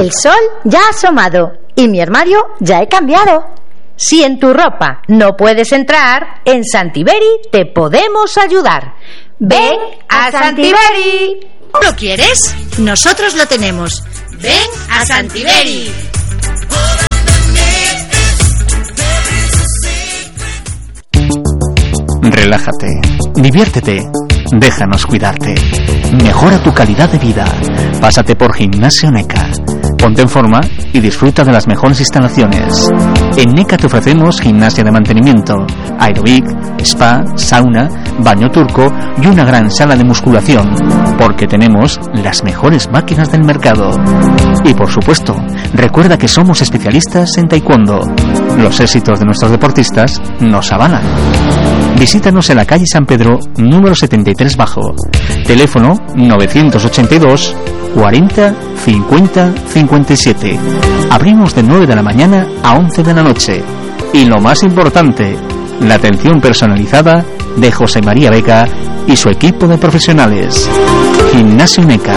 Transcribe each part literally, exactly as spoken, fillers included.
El sol ya ha asomado y mi armario ya he cambiado. Si en tu ropa no puedes entrar, en Santiberi te podemos ayudar. ¡Ven a Santiberi! ¿Lo quieres? Nosotros lo tenemos. ¡Ven a Santiberi! Relájate, diviértete, déjanos cuidarte. Mejora tu calidad de vida. Pásate por Gimnasio NECA. Ponte en forma y disfruta de las mejores instalaciones. En NECA te ofrecemos gimnasia de mantenimiento, aeróbic, spa, sauna, baño turco y una gran sala de musculación, porque tenemos las mejores máquinas del mercado. Y por supuesto, recuerda que somos especialistas en taekwondo. Los éxitos de nuestros deportistas nos avalan. Visítanos en la calle San Pedro, número setenta y tres bajo. Teléfono novecientos ochenta y dos cuarenta cincuenta cincuenta y siete. Abrimos de nueve de la mañana a once de la noche. Y lo más importante, la atención personalizada de José María Vega y su equipo de profesionales. Gimnasio NECA,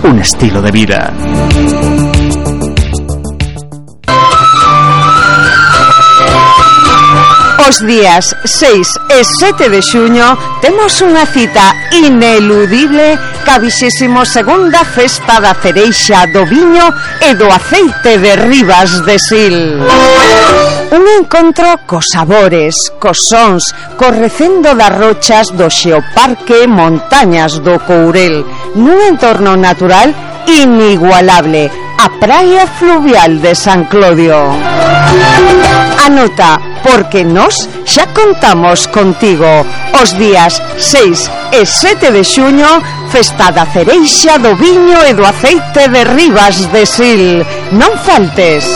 un estilo de vida. Os días seis e sete de xuño temos unha cita ineludible ca vixésimo segunda Festa da Cereixa do Viño e do Aceite de Ribas de Sil. Un encontro cos sabores, cos sons, co recendo das rochas do Xeoparque Montañas do Courel, nun entorno natural inigualable, a praia fluvial de San Clodio. Anota, porque nós xa contamos contigo. Os días seis e sete de xuño, Festa da Cereixa do Viño e do Aceite de Ribas de Sil. Non faltes.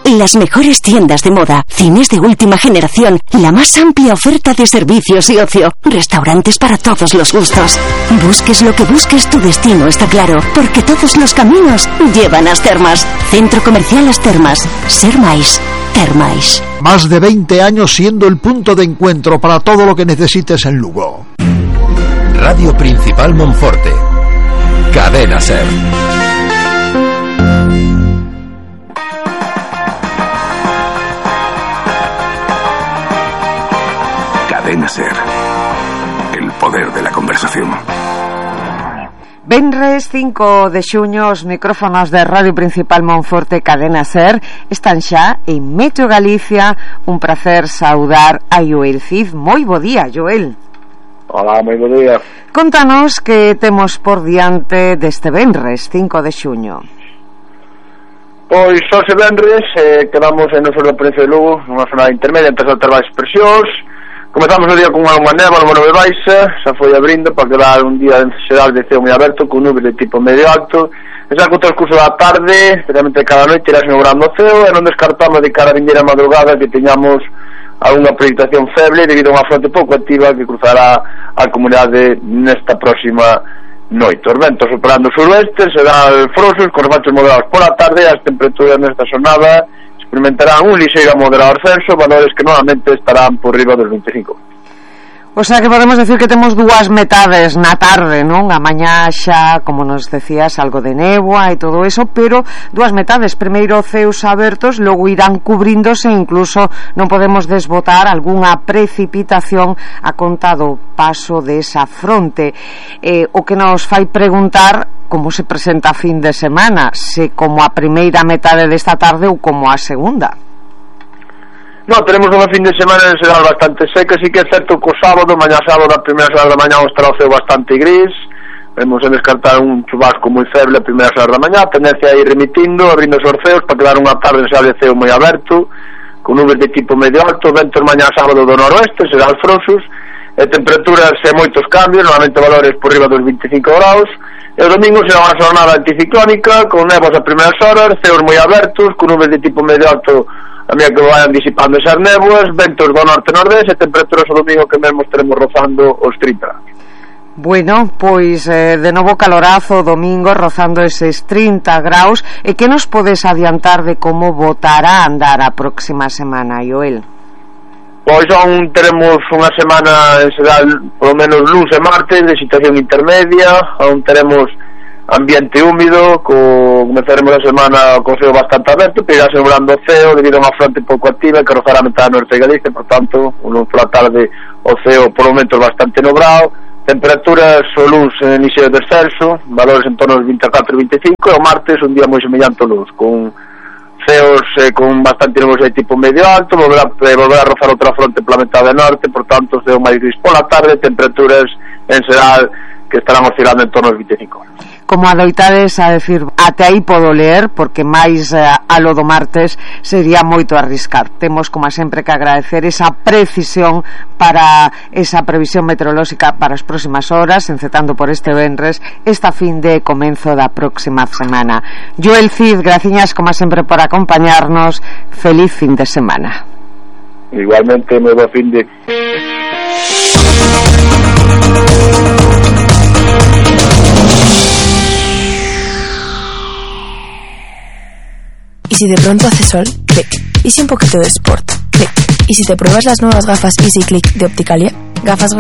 Las mejores tiendas de moda, cines de última generación, la más amplia oferta de servicios y ocio, restaurantes para todos los gustos. Busques lo que busques, tu destino está claro, porque todos los caminos llevan a As Termas. Centro Comercial As Termas. Ser máis, ter máis. Más de veinte años siendo el punto de encuentro para todo lo que necesites en Lugo. Radio Principal Monforte. Cadena Ser. Cadena Ser. El poder de la conversación. Venres cinco de xuño, os micrófonos de Radio Principal Monforte Cadena Ser están xa en Meteo Galicia. Un placer saudar a Joel Cid. Moi bo día, Joel. Hola, moi bo día. Contanos que temos por diante deste Venres cinco de xuño. Pois hoxe Venres eh, quedamos en noso da provincia de Lugo, nunha zona intermedia entre as altas baixas presións. Comezamos o día con unha néboa no nube baixa, xa foi abrindo para quedar un día en xeral de ceo moi aberto, con nubes de tipo medio alto. E xa co transcurso da tarde, especialmente cada noite, irá inaugurando o ceo, e non descartamos de cara a vindeira madrugada que teñamos algunha precipitación feble debido a unha fronte pouco activa que cruzará a comunidade nesta próxima noite. Os ventos operando suroeste, serán frosos, con rebaixos moderados pola tarde, e as temperaturas nesta xornada experimentarán un ligeiro a moderado ascenso, valores que normalmente estarán por riba dos vinte e cinco. O sea que podemos decir que temos dúas metades na tarde, non? A mañá xa, como nos decías, algo de néboa e todo eso, pero dúas metades, primeiro ceos abertos, logo irán cubríndose, incluso non podemos desbotar algunha precipitación a conta do paso desa fronte. Eh, o que nos fai preguntar como se presenta a fin de semana, se como a primeira metade desta tarde ou como a segunda. No, tenemos unha fin de semana en xeral bastante seca, sí que é certo que o sábado, mañá sábado, a primeira hora da mañá estará o ceo bastante gris, vemos en descartar un chubasco moi feble a primeira hora da mañá, tendencia a ir remitindo, abrindo os ceos para quedar unha tarde en xeral de ceo moi aberto, con nubes de tipo medio alto, ventos mañá sábado do noroeste, serán frosos, e temperaturas e moitos cambios, normalmente valores por riba dos vinte e cinco graus, e o domingo será unha jornada anticiclónica, con nevos a primeiras horas, ceos moi abertos, con nubes de tipo medio alto a medida que vayan disipando esas néboas, ventos do norte-nordeste e temperaturas o domingo que mesmo estaremos rozando os trinta. Bueno, pois eh, de novo calorazo o domingo rozando eses trinta graus. E que nos podes adiantar de como botará a andar a próxima semana, Joel? Pois son, teremos unha semana en xeral, polo menos luns e martes, de situación intermedia, onde teremos ambiente húmido, co, comenzaremos a semana co ceo bastante aberto, pero irá sembrando o ceo debido a unha fronte pouco activa que rozará a metade norte de Galicia, por tanto, non pola tarde o ceo por momentos bastante nublado, temperaturas o luns en inicio de descenso, valores en torno aos vinte e catro e vinte e cinco, e o martes un día moi semellante ao luns, con ceos eh, con bastante nubosidade de tipo medio alto, volverá, eh, volverá a rozar outra fronte pola metade norte, por tanto, ceo máis gris pola tarde, temperaturas en xeral que estarán oscilando en torno aos vinte e cinco. Como adoitades a decir, até aí podo ler, porque máis eh, a lo do martes sería moito arriscar. Temos, como sempre, que agradecer esa precisión para esa previsión meteorolóxica para as próximas horas, encetando por este venres, esta fin de comenzo da próxima semana. Joel Cid, graciñas, como sempre, por acompañarnos. Feliz fin de semana. Igualmente, moi bo fin de... ¿Y si de pronto hace sol? Clic. ¿Y si un poquito de sport? Clic. ¿Y si te pruebas las nuevas gafas Easy Click de Opticalia? Gafas